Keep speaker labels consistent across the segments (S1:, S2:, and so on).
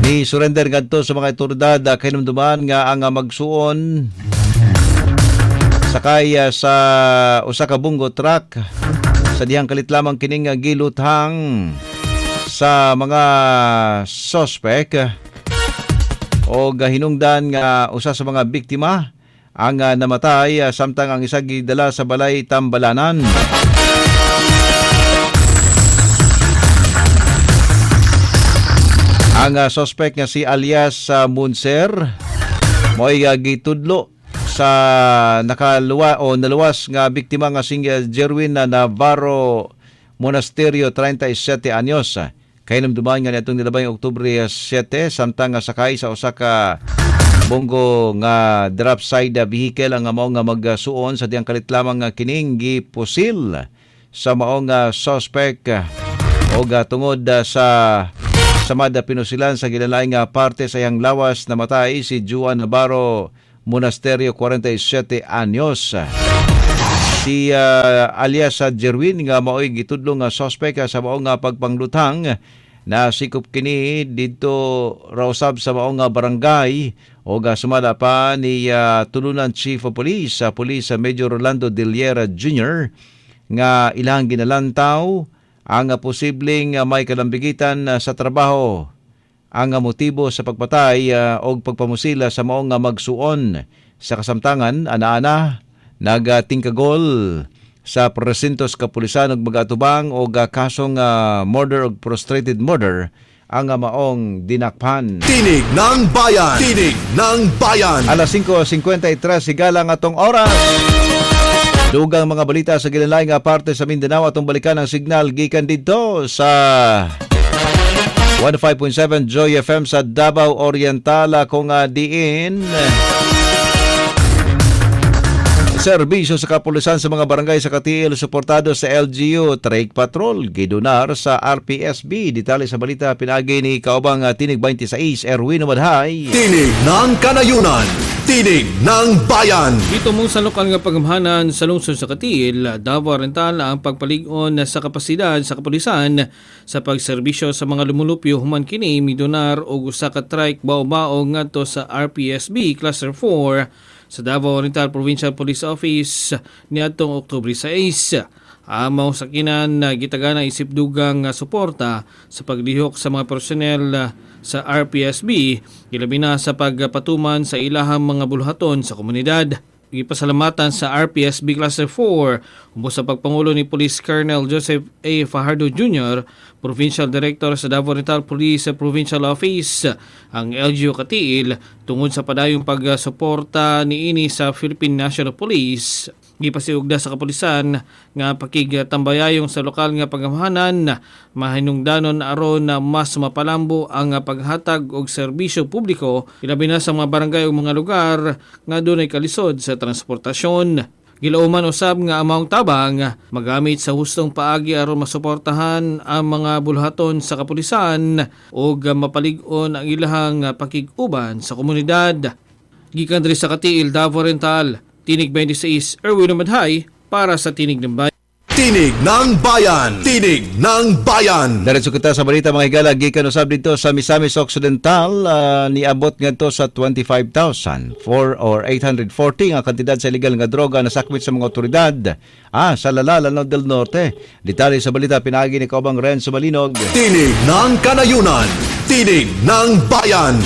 S1: Ni surrender ngadto sa mga otoridad kahinumduman nga ang magsuon sakay sa usa ka bungo truck sa dihang kalit lamang kining giluthang sa mga suspect o hinungdan nga usa sa mga biktima ang namatay samtang ang isa gidala sa balay Tambalanan. Ang suspect nga si alias Munser mo'y gitudlo sa nakaluwa o naluwas nga biktima nga si Jerwin Navarro Monasterio, 37 anyos. Kahinumduman nga niadtong nilabay Oktubre 7 samtang sakay sa usa ka bonggo nga drop side vehicle ang mao nga magsuon sa diyang kalit lamang nga kining gipusil sa mao nga suspect og tungod sa samad pinusilan sa gilalaing nga parte sa iyang lawas, namatay si Juan Navarro Monasterio, 47 anyos. Si alias Jerwin nga maoy gitudlo nga suspect sa mao nga pagpanglutang na sikop kini didto raw usab sa mao nga barangay og sumala pa ni Tulunan Chief of Police sa Police Major Rolando Diliera Jr. nga ilang ginalantaw ang posibleng may kalambigitan sa trabaho ang motibo sa pagpatay og pagpamusila sa mao nga magsuon. Sa kasamtangan, ana-ana nagatingkagol sa presintos kapulisan og magatubang og kasong murder og prostrated murder ang maong dinakpan.
S2: Tinig ng Bayan! Tinig ng Bayan!
S1: Alas 5:53 higala ang atong oras. Dugang mga balita sa gilalay nga parte sa Mindanao atong balikan ang signal gikan didto sa 105.7 Joy FM sa Davao Oriental kung diin serbisyo sa kapulisan sa mga barangay sa Katiil suportado sa LGU Trike Patrol gidonar sa RPSB. Detalye sa balita pinagi ni kaubang Tinig 26 Erwin Madhay.
S2: Tinig ng Kanayunan, Tinig ng Bayan.
S3: Dito mong sa lokal nga pagamhanan sa lungsod sa Katiil, Davao Oriental ang pagpalig-on sa kapasidad sa kapulisan sa pagserbisyo sa mga lumulupyo human kini midonar og usa ka trike bao-bao ngadto sa RPSB Cluster 4 sa Davao Oriental Provincial Police Office niadtong Oktubre 6. Ang maong sakinan gitagana isip dugang suporta sa paglihok sa mga personnel sa RPSB, ilabi na sa pagpatuman sa ilahang mga buluhaton sa komunidad. Gipasalamatan sa RPSB Cluster 4 ubos sa pagpangulo ni Police Colonel Joseph A. Fajardo Jr., Provincial Director sa Davao Oriental Police Provincial Office, ang LGU Katiil tungod sa padayong pagsuporta niini sa Philippine National Police. Gipasiugda sa kapulisan nga pakigtambayayong sa lokal nga pagamhanan mahinungdanon aron na mas mapalambo ang paghatag og serbisyo publiko ilabi na sa mga barangay ug mga lugar nga dunay kalisod sa transportasyon. Gilauman usab nga ang maong tabang magamit sa hustong paagi aron masuportahan ang mga bulhaton sa kapulisan ug mapalig-on ang ilahang pakig-uban sa komunidad. Gikan diri sa Katiil, Davao Oriental, Tinig 26, Erwin Madhay para sa Tinig ng Bayan.
S2: Tinig ng Bayan! Tinig ng Bayan!
S1: Diretso kita sa balita mga higala, gikan usab dito sa Misamis Occidental, niabot ngadto sa 25,000 or 840 nga kantidad sa illegal nga droga na sakmit sa mga otoridad sa Lala, Lanao del Norte. Detalye sa balita pinaagi ni Kaubang Renzo Malinog.
S2: Tinig ng Kanayunan! Tinig ng Bayan!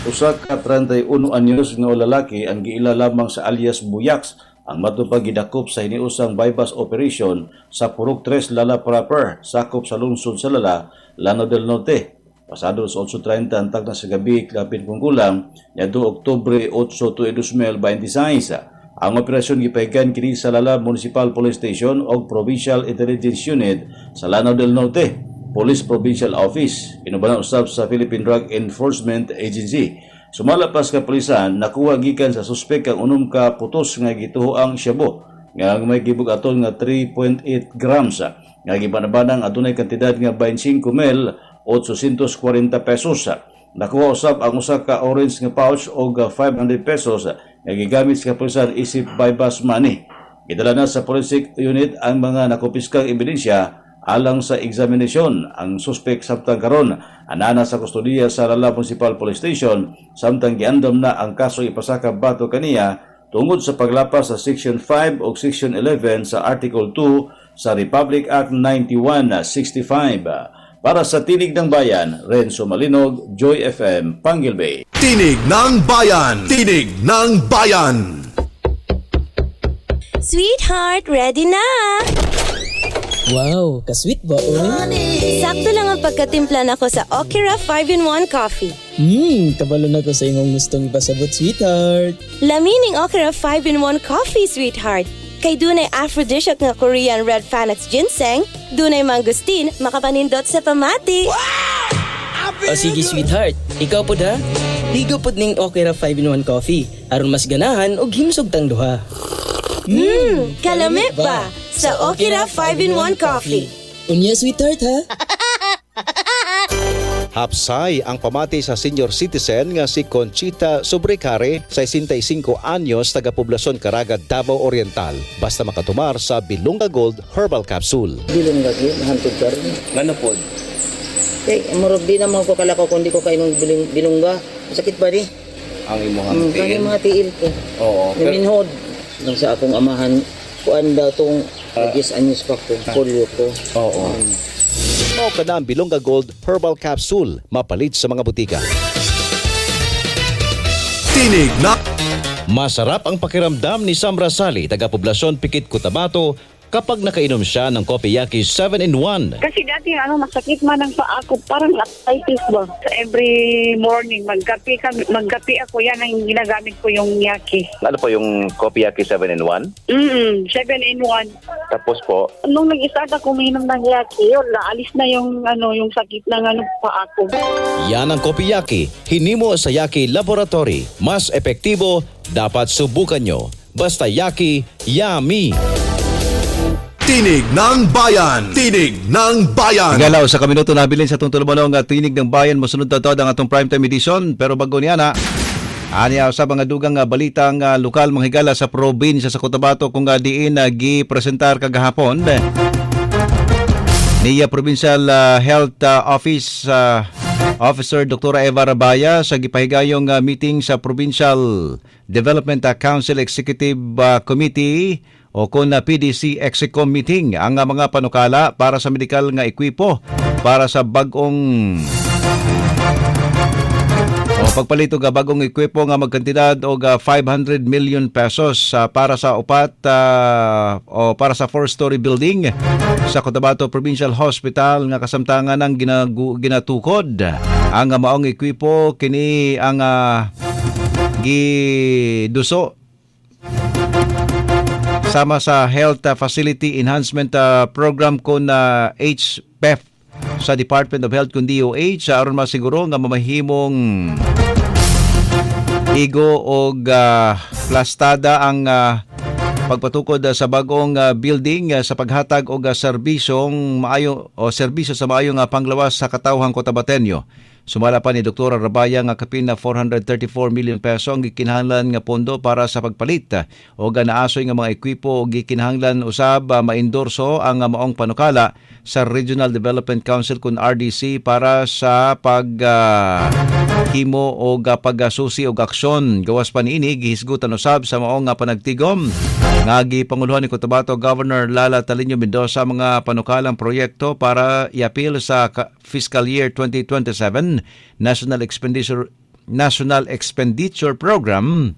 S4: Usa ka 31 anyos nga lalaki ang giila lamang sa alias Buyaks ang matupag gidakop sa hiniusang bypass operation sa Purok 3 Lala Proper, sakop sa lungsod sa Lala, Lanao del Norte. Pasado sa 8:30 ang tagna sa gabi, kapin kung kulang, niadtong Oktubre 8, 2026. Ang operasyon gipahigan kini sa Lala Municipal Police Station o Provincial Intelligence Unit sa Lanao del Norte Police Provincial Office, inubanan usab sa Philippine Drug Enforcement Agency. Sumala pa sa kapulisan, nakuha gikan sa suspek ang unom ka putos nga gituho ang shabu nga may gibug-aton nga 3.8 grams nga gibanabanang adunay kantidad nga 25 mil 840 pesos. Nakuha usab ang usa ka orange nga pouch og 500 pesos nga gigamit sa kapulisan isip bypass money. Gidala na sa forensic unit ang mga nakumpiskang ebidensya alang sa examination. Ang suspek samtang karon anana sa kustodiya sa Lala Municipal Police Station samtang giandam na ang kaso ipasaka bato kaniya tungod sa paglapas sa Section 5 o Section 11 sa Article 2 sa Republic Act 9165. Para sa Tinig ng Bayan, Renzo Malinog, Joy FM, Panguil Bay.
S2: Tinig ng Bayan! Tinig ng Bayan!
S5: Sweetheart, ready na!
S6: Wow, kasweet ba, oy?
S5: Sakto lang ang pagkatimpla nako sa Okira 5-in-1 Coffee.
S6: Kabalo na ko sa imong gustong ipasabot, sweetheart.
S5: Lamining Okira 5-in-1 Coffee, sweetheart. Kay dunay aphrodisiac nga Korean Red Panax ginseng, dunay mangosteen, makapanindot sa pamati.
S6: Wow! O sige, sweetheart, ikaw pod ha? Ligo pod ning Okira 5-in-1 Coffee aron mas ganahan og himsog tang duha.
S5: Kalami ba? Sa Okira 5-in-1 Coffee.
S6: Unya, sweetheart, ha?
S1: Hapsay ang pamati sa senior citizen nga si Conchita Sobrecare, 65 anyos, taga-poblasyon Caraga, Davao Oriental. Basta makatumar sa Bilonga Gold Herbal Capsule.
S7: Bilonga gyud, hantod karon.
S8: Ngano pod?
S7: Kay murag di naman ko kalakaw kung di ko kainom bilongga. Sakit ba di?
S8: Ang imong tiil?
S7: Ang mga tiil ko.
S8: Oo.
S7: Naminhod. Nang sa akong amahan, kuan daw tong 10 anyos pa ko, polio ko.
S8: Oo.
S1: Mao ka na ang Bilonga Gold Herbal Capsule, mapalit sa mga butika.
S2: Tinig na
S1: Masarap ang pakiramdam ni Sam Rasali, taga-poblasyon Pikit, Cotabato, kapag nakainom siya ng Kopiyaki 7-in-1.
S9: Kasi dati masakit man ang paa ko, parang arthritis ba. Every morning magkape ako, yan ang ginagamit ko yung yaki.
S8: Ano po yung Kopiyaki 7-in-1?
S9: 7-in-1.
S8: Tapos po?
S9: Nung nag-start ako uminom ng yaki, yun, naalis na yung, yung sakit ng paa ko.
S1: Yan ang Kopiyaki, hinimo sa Yaki Laboratory. Mas epektibo, dapat subukan nyo. Basta Yaki, yummy!
S2: Tinig ng Bayan! Tinig ng Bayan!
S1: Higalaw sa kaminuto nabilin sa itong tulumanong Tinig ng Bayan. Musunod na ito ang atong primetime edition. Pero bago niya na, aniya sa mga dugang balitang lokal mga higala sa probinsya sa Cotabato kung diin gipresentar kagahapon niya Provincial Health Office Officer Dr. Eva Rabaya sa gipahigayong meeting sa Provincial Development Council Executive Committee o kon PDC Execom meeting ang mga panukala para sa medikal nga ekwipo para sa bag-ong o pagpalito ga bagong ekwipo nga magkantidad og 500 million pesos para sa upat o para sa 4-story building sa Cotabato Provincial Hospital nga kasamtangan ang ginatukod ang maong ekwipo kini ang giduso sama sa Health Facility Enhancement Program kon HPEF sa Department of Health kun DOH aron masiguro nga mamahimong igo og plastada ang pagpatukod sa bagong building sa paghatag og serbisyong maayo o serbisyo sa maayo nga panglawas sa katawhang Cotabatenyo. Sumala pa ni Dr. Rabaya nga kapin na 434 million peso ang gikinahanglan nga pondo para sa pagpalit o naasoy nga mga ekwipo og gikinahanglan usab maendorso ang maong panukala sa Regional Development Council kun RDC para sa pag himo og pagsusi og aksyon. Gawas pa niini gihisgutan usab sa maong panagtigom nga gipanguluhan ni Cotabato Governor Lala Taliño Mendoza mga panukalang proyekto para iapil sa fiscal year 2027 National Expenditure Program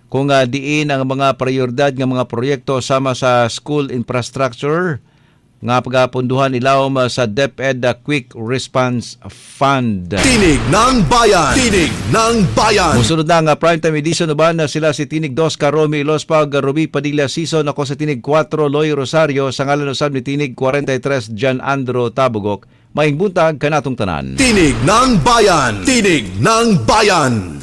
S1: kung diin ang mga prioridad nga mga proyekto sama sa school infrastructure nga pagapunduhan ilawom sa DepEd Quick Response Fund.
S2: Tinig ng Bayan! Tinig ng Bayan!
S1: Musunod na nga primetime edition ba na sila si Tinig 2 Karomi Ilospag, Ruby Padilla Season, ako sa Tinig 4 Loy Rosario, sa ngalan usab ni Tinig 43 John Andro Tabugok. Maayong buntag kanatong tanan.
S2: Tinig ng Bayan! Tinig ng Bayan!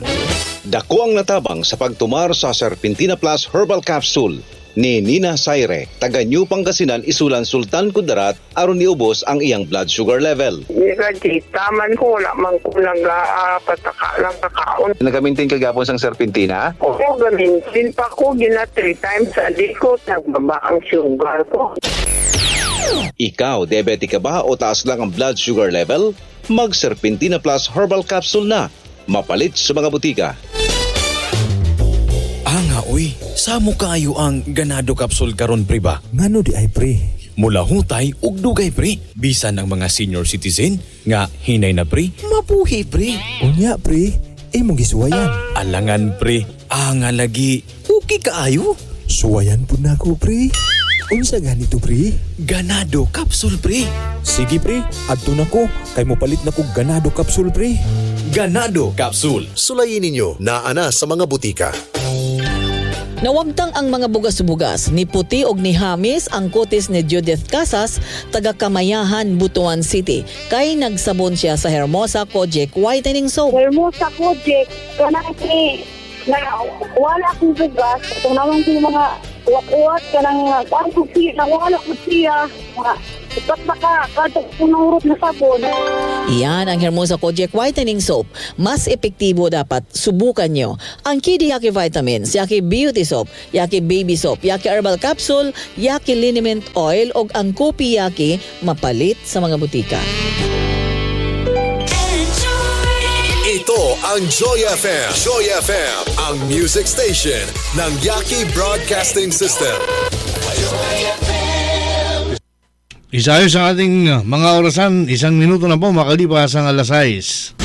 S1: Dako ang natabang sa pagtumar sa Serpentina Plus Herbal Capsule ni Nina Saire, taga New Pangasinan, Isulan, Sultan Kudarat, aron niubos ang iyang blood sugar level.
S9: Taman ko, wala man ko nagpataka lang kakaon.
S8: Nagamintin ka gapon sang Serpentina?
S9: Oo, gamintin pa ko, gina 3 times a day ko, nagbaba ang sugar ko.
S8: Ikaw, diabetic ka ba o taas lang ang blood sugar level? Mag Serpentina Plus Herbal Capsule na. Mapalit sa mga butika.
S10: Anga uy, samo kaayo ang Ganado Capsule karon pre ba?
S11: Ngano di ay pre?
S10: Mula hutay ug dugay pre. Bisan ang mga senior citizen nga hinay na pre, mabuhi pre.
S11: Unya pre, imong gisuwayan.
S10: Alangan pre, anga lagi, okay kaayo.
S11: Suwayan pud nako pre. Unsa ganito pre?
S10: Ganado Capsule pre.
S11: Sige pre, adto nako kay mopalit na kog Ganado Capsule pre.
S10: Ganado Capsule.
S2: Sulayin ninyo naa na sa mga butika.
S12: Nawagtang ang mga bugas-bugas ni Puti og ni Hamis ang kutis ni Judith Casas, taga Kamayahan, Butuan City. Kay nagsabon siya sa Hermosa Kojic Whitening Soap.
S9: Hermosa Kojic, kanang ni na wala akong bugas, itong naman ko yung mga uwat-uwat, kanang kuan ko siya, nawala ko siya, mga upat na ka, kada punurot na sabon.
S12: Iyan ang Hermosa Kojic Whitening Soap. Mas epektibo dapat subukan nyo. Ang Kidi Yaki Vitamins, Yaki Beauty Soap, Yaki Baby Soap, Yaki Herbal Capsule, Yaki Liniment Oil o ang Kopi Yaki mapalit sa mga butika.
S2: Ito ang Joy FM. Joy FM, ang music station ng Yaki Broadcasting System.
S13: Isayos ang ating mga orasan, 1 minuto na po makalipas ang 6:00.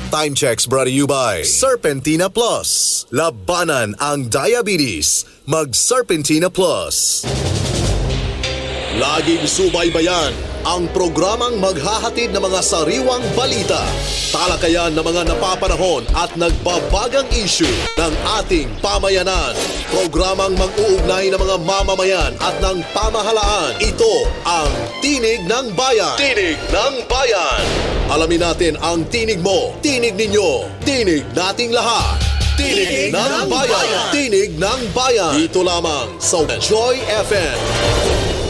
S2: Time checks brought to you by Serpentina Plus. Labanan ang diabetes. Mag Serpentina Plus. Laging subaybayan ang programang maghahatid ng mga sariwang balita, talakayan ng mga napapanahon at nagbabagang issue ng ating pamayanan. Programang mag-uugnay ng mga mamamayan at ng pamahalaan. Ito ang Tinig ng Bayan. Tinig ng Bayan. Alamin natin ang tinig mo, tinig ninyo, tinig nating lahat. Tinig ng Bayan. Tinig ng Bayan. Dito lamang sa Joy FM.